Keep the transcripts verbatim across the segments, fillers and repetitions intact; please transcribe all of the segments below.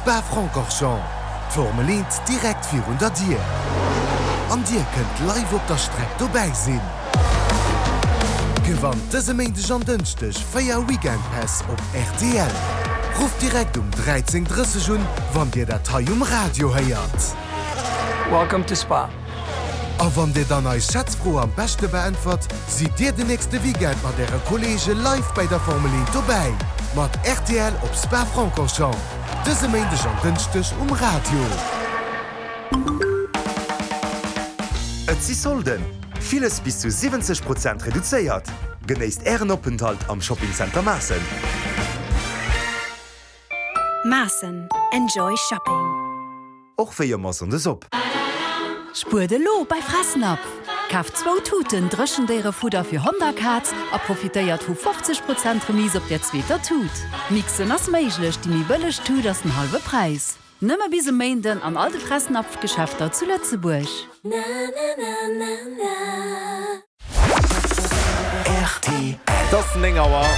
Spa-Francorchamps. D'Formel eent direkt virun der Dier. An dir kënnt live op der Streck dobäi sinn. Gewannt dëse Méindeg an Dënschdeg véier Weekend-Päss op rtl. Rufft direkt um dräizéng drësseg un, wann dir dat hei um Radio héiert. Welcome to Spa. A wann dir dann eis Schätzfro am beschte beäntwert, sidd dir den nächste Weekend mat äre Kolleege live bei der Formel eent dobäi. Mat rtl op Spa-Francorchamps. Dëse Méindeg an Dënschdeg um Radio. Et si Solden! Villes bis zu siwwenzeg Prozent reduzéiert! Genéisst Ären Openthalt am Shopping Center Maassen! Maassen, Enjoy Shopping! Och wéi ëmmer Sonndes op. Spuert elo bei Fressnapf! Kaaft zwou Tuten Dréchendéierefudder fir Hond a Kaz a profitéiert vu fofzeg Prozent Remise op der zweeter Tut. Mixen ass méiglech, déi méi bëlleg Tut ass den hallwe Präis. Nëmme bis e Méinden an all de Fressnapf-Geschäfter zu Lëtzebuerg. Rtl. Et ass néng Auer.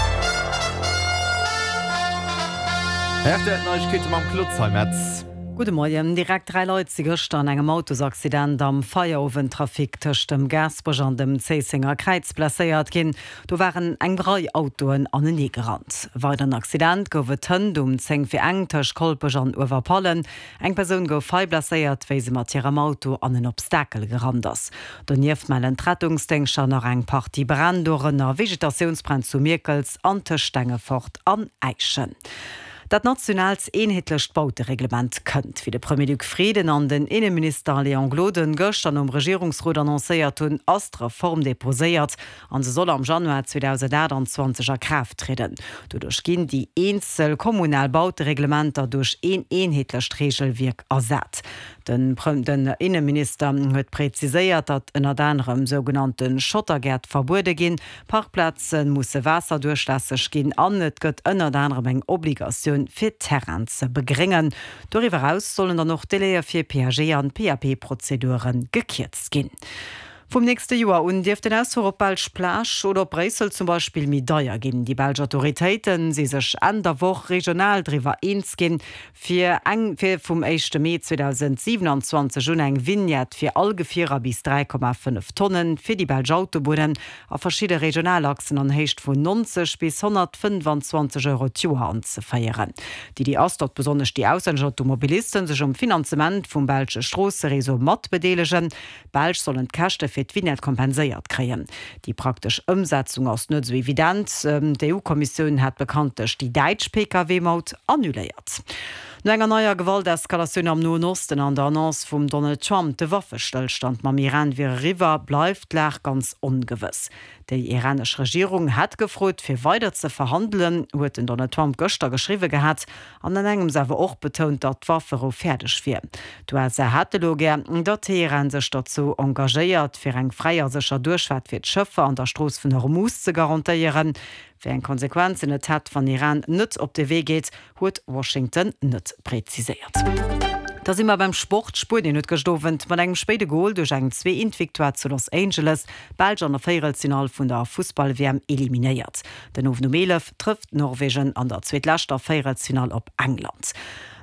R T L Neiegkeete mam Claude Zeimetz. Gudde Moien. Direkt dräi Leit si gëschter an engem Autosaccident am Feierowendtrafic tëscht dem Gaasperech an dem Zéissenger Kräiz blesséiert ginn. Do waren eng Rei Autoen anenee gerannt. Weideren Accident gouf et hënt um zéng vir eng tëscht Kolpech an Uewerpallen. Eng Persoun gouf hei blesséiert, wéi se mat hirem Auto an en Obstakel gerannt ass. Donieft mellen d'Rettungsdéngschter nach eng Partie Bränn, dorënner Vegetatiounsbränn zu Mierkels an tëscht Stengefort an Äischen. Dat nationaalt eenheetlecht Bautereglement kënnt. Wéi de Premier Luc Frieden an den Inneminister Léon Gloden gëschter nom Regierungsrot annoncéiert hunn, ass d'Reform deposéiert an se soll am Januar zweedausendaachtanzwanzeg a Kraaft trieden. Doduerch ginn déi eenzel kommunal Bautereglementer duerch een eenheetlecht Reegelwierk ersat. Den Inneminister huet präziséiert, datt ënnert anerem sougenannte Schottergäert verbuede ginn, Parkplaze musse waasserduerchlässeg ginn an et gëtt ënnert anerem eng Obligatioun fir Terrainen ze begréngen. Doriwwer eraus sollen dann och d'Délaië fir P A G an P A P-Prozedure gekierzt ginn. Vum nächste Joer un dierft den Ausfuer op d'belsch Plage oder op Bréissel zum Beispill méi deier ginn. Déi belsch Autoritéite si sech Enn der Woch regional driwwer eens ginn, fir eng fir vum éischte Mee zweedausendsiewenanzwanzeg un eng Vignette fir all Gefierer bis dräi Komma fënnef Tonnen fir déi belsch Autobunnen a verschidde Regionalachsen an Héicht vun nonzeg bis honnertfënnefanzwanzeg Euro d'Joer anzeféieren. D'Iddi ass, datt besonnesch déi auslännesch Automobilisten sech um Finanzement vum belsche Stroossereseau matbedeelegen. D'Belsch sollen d'Käschte fir d'Vignette kompenséiert kréien. Déi praktesch Ëmsetzung ass net esou evident. D'E U-Kommissioun hat bekanntlech déi däitsch P K W-Maut annuléiert. No enger neier Gewalteskalatioun am Noen Osten an der Annonce vum Donald Trump, de Waffestëllstand mam Iran wier eriwwer, bleift d'Lag ganz ongewëss. Déi iranesch Regierung hätt gefrot, fir weider ze verhandelen, huet den Donald Trump gëschter geschriwwe gehat an an engems awer och betount, datt d'Wafferou fäerdeg wier. D'U S A hätte elo gär, datt Teheran sech dozou engagéiert, fir eng fräi a sécher Duerchfaart fir d'Schëffer an der Strooss vun Hormuz ze garantéieren. Wéi eng Konsequenzen et hätt, wann Iran net op de Wee geet, huet Washington net präziséiert. Da si mer beim Sport. Spuenien huet gëscht Owend mat engem spéide Gol duerch eng Zwee-Eent-Victoire zu Los Angeles d'Belsch an der Véierelsfinall vun der Fussball-W M eliminéiert. Den Owend um eelef trëfft Norwegen an der zweetleschter Véierelsfinall op England.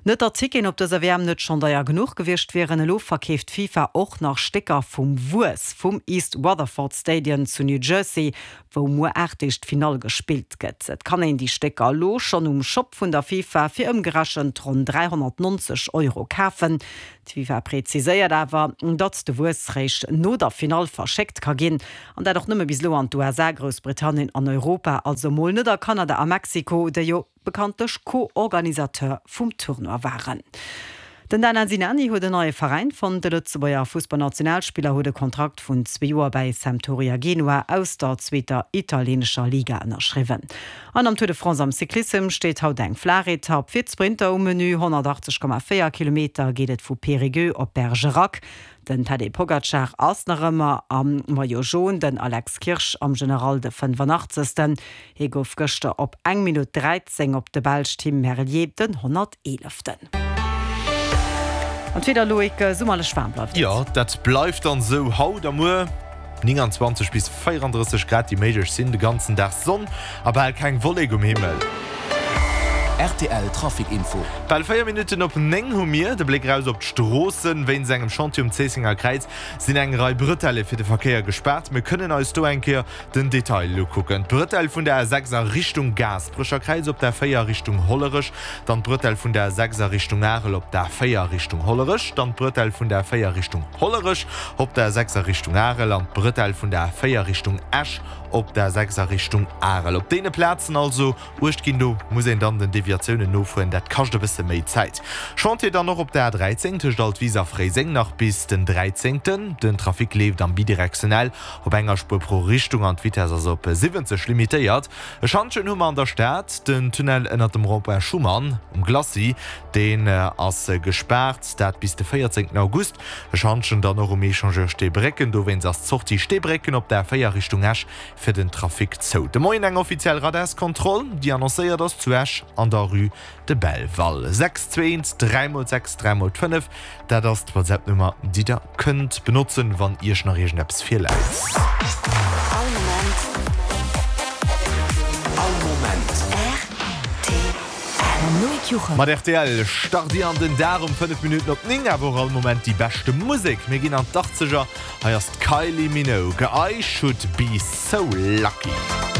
Net datt d'Ticketen op dëser W M net schonn deier genuch gewiescht wieren, elo verkeeft d'FIFA och nach Stécker vum Wuess vum East Rutherford Stadion zu New Jersey, wou muer aacht Deeg d'Finall gespillt gëtt. Et kann een déi Stécker elo schonn um Shop vun der FIFA fir ëmgerechent ronn dräihonnertnonzeg Euro kafen. D'FIFA präziséiert awer, datt de Wuess réischt no der Finall verschéckt ka ginn, an dat och nëmme bis elo an d'U S A, Groussbritannien an Europa, also mol net a Kanada a Mexiko, déi jo bekanntlech Co-Organisateur vum Tournoi waren. Den Daniel Sinani huet en neie Veräin fonnt. De Lëtzebuerger Fussballnationalspiller huet e Kontrakt vun zwee Joer bäi Sampdoria Genua aus der zweeter italieenescher Liga ënnerschriwwen. An am Tour de France am Cyclissem steet haut eng flaach Etapp fir d'Sprinter um Menü. honnertachtzeg Komma véier Kilometer geet et vu Périgueux op Bergerac. Den Tadej Pogacar ass nach ëmmer am Maillot Jaune, den Alex Kirsch am General de fënnefanachtzeegsten. Hie gouf gëschter op eng Minutt dräizéng op de Belsch Tim Merlier den honnerteeleften. An d'Wieder, Loïc, summerlech waarm bleift et. Jo, dat bleift dann esou haut a muer. Nénganzwanzeg bis véierandrësseg Grad déi méiglech sinn, de ganzen Dag Sonn a bal keng Wollek um Himmel. Rtl Trafic Info. Bal véier Minutten op néng hu mir de Bléck eraus op d'Stroossen. Wéinst engem Chantier um Zéissenger Kräiz sinn eng Rei Bretelle fir de Verkéier gespaart. Mir kënnen eis do eng Kéier den Detail ukucken. D'Bretelle vun der A sechs a Richtung Gaasperecher Kräiz op der A véier Richtung Hollerech, dann d'Bretelle vun der A sechs a Richtung Arel op der A véier Richtung Hollerech, dann d'Bretelle vun der A véier Richtung Hollerech op der A sechs a Richtung Arel an d'Bretelle vun der A véier Richtung Esch op der A sechs a Richtung Arel. Op deene Plazen also Uecht ginn, do muss een dann den Deviatiounen nofueren, dat kascht e bësse méi Zäit. Chantier dann och op der A dräizéng tëscht Altwis a Fréiseng nach bis den dräizéngten. Den Trafic leeft am bidirektionell op enger Spuer pro Richtung an d'Vitess ass op siwwenzeg limitéiert. E Schantjen hu mer an der Stad, den Tunnel ënnert dem Rond-point Schuman um Glacis, deen ass gespaart, dat bis de véierzéngten August. E Schantjen dann och um Echangeur Steebrécken, dowéinst ass d'Sortie Steebrécken op der A véier Richtung Esch fir den Trafic zou. De Moien eng offiziell Radarskontroll, déi annoncéiert ass zu Esch an der Rue de Belval. Sechs zwee eent dräi mol sechs dräi mol fënnef, dat ass d'WhatsApp-Nummer, déi der kënnt benotzen, wann Iech nach iergendeppes virläit. All Moment. All Moment. Rtl. Mam Loïc Juchem. Mat rtl start Dir an den Dag um fënnef Minutten op néng, awer och all Moment déi beschte Musek. Mir ginn an d'Achtzeger, hei ass d'Kylie Minogue, I Should Be So Lucky.